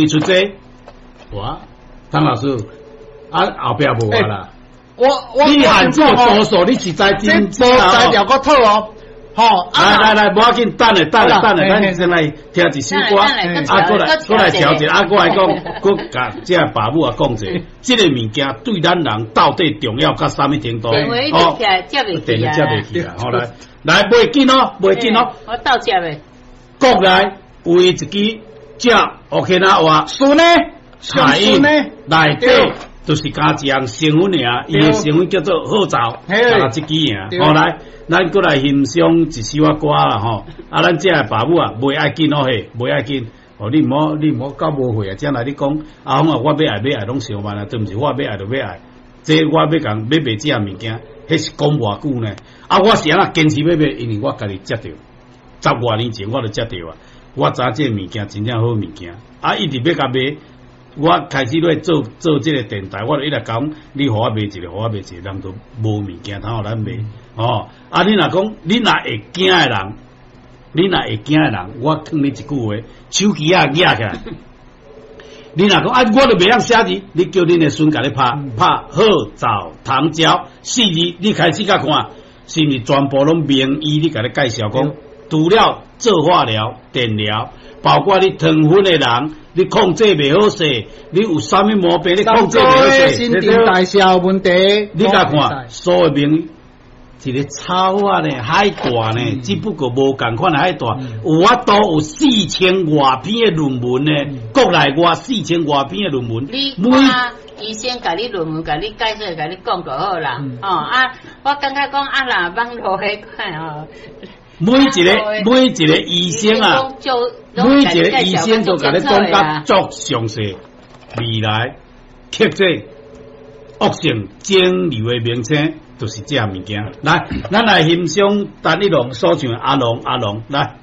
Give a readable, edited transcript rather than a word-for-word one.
出這，哇，湯老師，啊後壁無啊啦。我你限這個多數，你實在這無材料閣妥哦，吼！來來來，無要緊，等下等下等下，咱先來聽一首歌，啊，閣來閣來調一下，啊，閣來講，閣共這爸母啊講者，這个物件對咱人到底重要到啥物程度？哦，接袂起啊，接袂起啊！好來，來袂緊哦，袂緊哦，我鬥接的。國內有一支食烏克那話，順呢，彩印內底。就是加一項成分爾，伊的成分叫做褐藻，啊，這支爾。好來，咱閣來欣賞一首仔歌啦吼。啊，咱這个爸母啊，袂愛緊哦嘿，袂愛緊。哦，你毋好，你毋好到無歲啊，才來你講，阿公啊，我欲愛欲愛攏相慢啊，對毋是，我欲愛就欲愛。這我欲共欲賣這个物件，彼是講偌久呢？啊，我是按怎堅持欲買？因為我家己食著，十外年前我就食著啊。我知影這个物件真正好物件，啊，一直欲共賣。我開始咧做做這个電台，我就一直講，你予我賣一個，予我賣一個，人都無物件通予咱賣，哦。啊，你若講，你若會驚的人，你若會驚的人，我勸你一句話，手機仔攑起來。你若講啊，我都袂曉寫字，你叫恁的孫共你拍拍褐藻糖膠四字，你開始共看，是毋是全部攏名醫？你共你介紹講，除了做化療、電療，包括你糖分的人，你控制袂好勢，你有啥物毛病？你控制袂好勢，新陳代謝有問題。你共看，所有名一个草仔呢，海帶呢，只不過無仝款的海帶，有法度有四千外篇的論文呢，國內外四千外篇的論文。你看醫生共你論文，共你解釋，共你講就好啦。哦啊，我感覺講啊，若網路彼款哦。每一个每一个醫生啊，每一个醫生都共你講甲足詳細，未來克制惡性腫瘤的名稱，就是這物件。來，咱來欣賞陳一龍所唱的《阿龍阿龍》來。